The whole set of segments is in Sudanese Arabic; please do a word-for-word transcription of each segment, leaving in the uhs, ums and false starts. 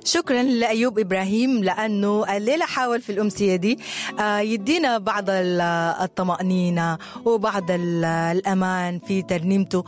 شكرا لأيوب إبراهيم لأنه الليلة حاول في الأمسية دي يدينا بعض الطمأنينة وبعض الأمان في ترنيمته،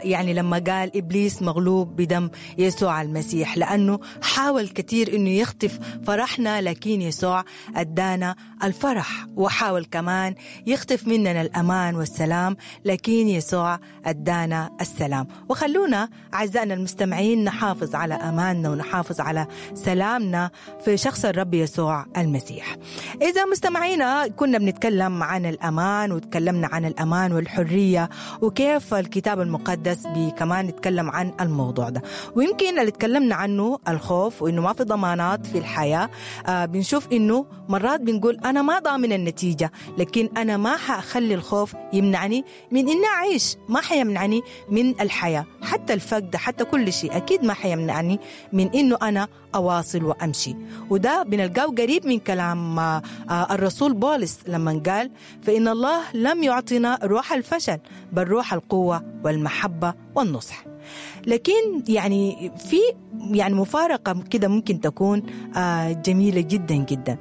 يعني لما قال إبليس مغلوب بدم يسوع المسيح، لأنه حاول كثير أنه يخطف فرحنا لكن يسوع أدانا الفرح، وحاول كمان يخطف مننا الأمان والسلام لكن يسوع أدانا السلام. وخلونا أعزائنا المستمعين نحافظ على أماننا ونحافظ على سلامنا في شخص الرب يسوع المسيح. إذا مستمعينا كنا بنتكلم عن الأمان، وتكلمنا عن الأمان والحرية وكيف الكتاب المقدس كمان نتكلم عن الموضوع ده، ويمكن اللي تكلمنا عنه الخوف وإنه ما في ضمانات في الحياة. آه بنشوف إنه مرات بنقول أنا ما ضامن النتيجة، لكن أنا ما حأخلي الخوف يمنعني من إني أعيش، ما حيمنعني من الحياة، حتى الفقد، حتى كل شيء أكيد ما حيمنعني من إنه أنا أواصل وأمشي. وده بنلقاه قريب من كلام الرسول بولس لما قال فإن الله لم يعطينا روح الفشل بل روح القوة والمحبة والنصح. لكن يعني في يعني مفارقة كده ممكن تكون جميلة جدا جدا،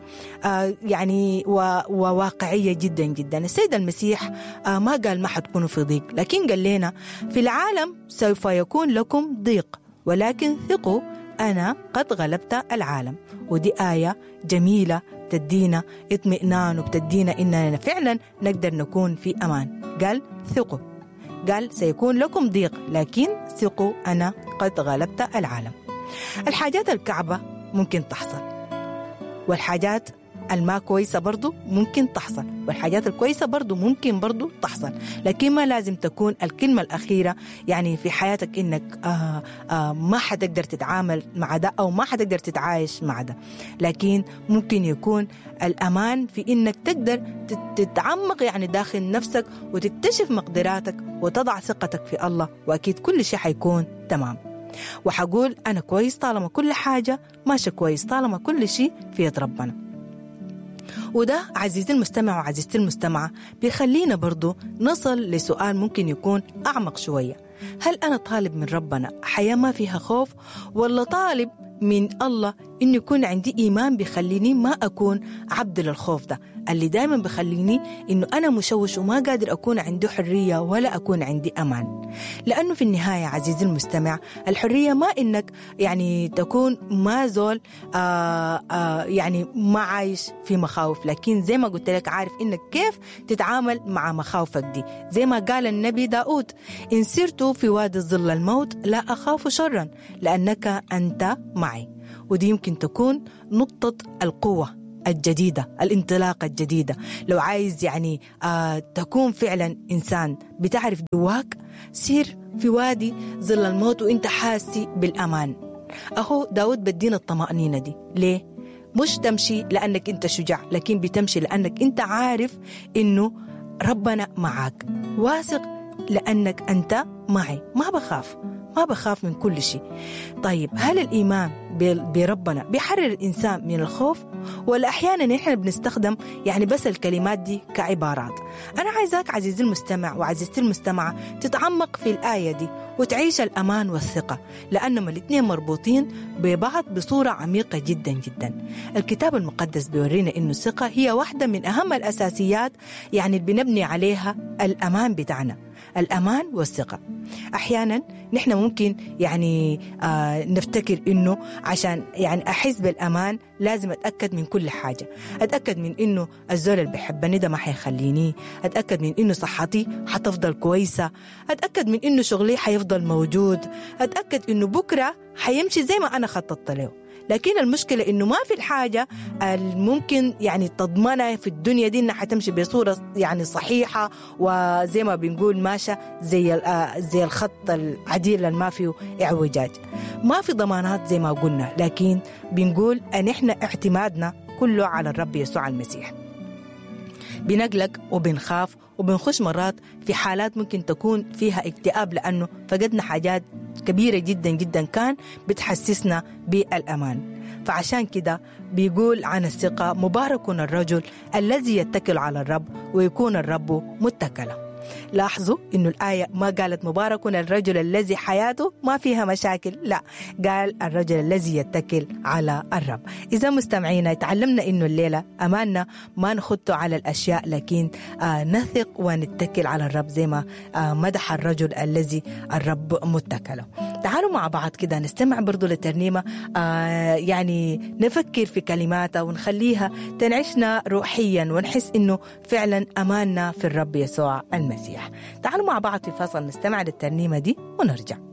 يعني وواقعية جدا جدا. السيد المسيح ما قال ما حتكونوا في ضيق، لكن قال لنا في العالم سوف يكون لكم ضيق ولكن ثقوا أنا قد غلبت العالم. ودي آية جميلة بتدينا اطمئنان وبتدينا إننا فعلا نقدر نكون في أمان. قال ثقوا، قال سيكون لكم ضيق لكن ثقوا أنا قد غلبت العالم. الحاجات الكعبة ممكن تحصل، والحاجات الما كويسة برضو ممكن تحصل، والحاجات الكويسة برضو ممكن برضو تحصل، لكن ما لازم تكون الكلمة الأخيرة يعني في حياتك إنك آه آه ما حتقدر تتعامل مع ده أو ما حتقدر تتعايش مع ده. لكن ممكن يكون الأمان في إنك تقدر تتعمق يعني داخل نفسك وتكتشف مقدراتك وتضع ثقتك في الله، وأكيد كل شيء حيكون تمام. وحقول أنا كويس طالما كل حاجة ماشية كويس، طالما كل شيء في يد ربنا. وده عزيزي المستمع وعزيزتي المستمعة بيخلينا برضو نصل لسؤال ممكن يكون أعمق شوية. هل أنا طالب من ربنا حياة ما فيها خوف، ولا طالب من الله إنه يكون عندي إيمان بيخليني ما أكون عبد للخوف ده اللي دايما بخليني إنه أنا مشوش وما قادر أكون عندي حرية ولا أكون عندي أمان؟ لأنه في النهاية عزيزي المستمع الحرية ما إنك يعني تكون ما زول آآ آآ يعني ما عايش في مخاوف، لكن زي ما قلت لك عارف إنك كيف تتعامل مع مخاوفك دي. زي ما قال النبي داود إن سرت في وادي ظل الموت لا أخاف شرا لأنك أنت معي. ودي يمكن تكون نقطة القوة الجديدة، الانطلاقة الجديدة. لو عايز يعني آه تكون فعلا إنسان بتعرف جواك، سير في وادي ظل الموت وانت حاسي بالأمان. أهو داود بدينا الطمأنينة دي. ليه؟ مش تمشي لأنك انت شجاع، لكن بتمشي لأنك انت عارف إنه ربنا معاك، واثق لأنك أنت معي، ما بخاف، ما بخاف من كل شيء. طيب هل الإيمان بربنا بيحرر الإنسان من الخوف، ولا أحيانا نحن بنستخدم يعني بس الكلمات دي كعبارات؟ أنا عايزاك عزيزي المستمع وعزيزتي المستمعة تتعمق في الآية دي وتعيش الأمان والثقة، لأنهم الاثنين مربوطين ببعض بصورة عميقة جدا جدا. الكتاب المقدس بيورينا إنه الثقة هي واحدة من أهم الأساسيات يعني اللي بنبني عليها الأمان بتاعنا، الأمان والثقة. أحيانا نحن ممكن يعني آه نفتكر إنه عشان يعني أحس بالأمان لازم أتأكد من كل حاجة، أتأكد من إنه الزول اللي بيحبني ده ما حيخليني، أتأكد من إنه صحتي حتفضل كويسة، أتأكد من إنه شغلي حيفضل موجود، أتأكد إنه بكرة حيمشي زي ما أنا خططت له. لكن المشكلة إنه ما في الحاجة الممكن يعني تضمنها في الدنيا دي إنها حتمشي بصورة يعني صحيحة وزي ما بنقول ماشى زي زي الخط العديل اللي ما فيه اعوجاج. ما في ضمانات زي ما قلنا، لكن بنقول أن إحنا اعتمادنا كله على الرب يسوع المسيح. بنقلق وبنخاف وبنخش مرات في حالات ممكن تكون فيها اكتئاب لأنه فقدنا حاجات كبيرة جدا جدا كان بتحسسنا بالأمان. فعشان كده بيقول عن الثقة مبارك الرجل الذي يتكل على الرب ويكون الرب متكلا. لاحظوا إنه الآية ما قالت مبارك الرجل الذي حياته ما فيها مشاكل، لا، قال الرجل الذي يتكل على الرب. إذا مستمعينا تعلمنا إنه الليلة أماننا ما نخط على الأشياء، لكن آه نثق ونتكل على الرب زي ما آه مدح الرجل الذي الرب متكله. تعالوا مع بعض كده نستمع برضو للترنيمة، آه يعني نفكر في كلماتها ونخليها تنعشنا روحيا ونحس إنه فعلا أماننا في الرب يسوع المسيح. تعالوا مع بعض في فصل نستمع للترنيمة دي ونرجع.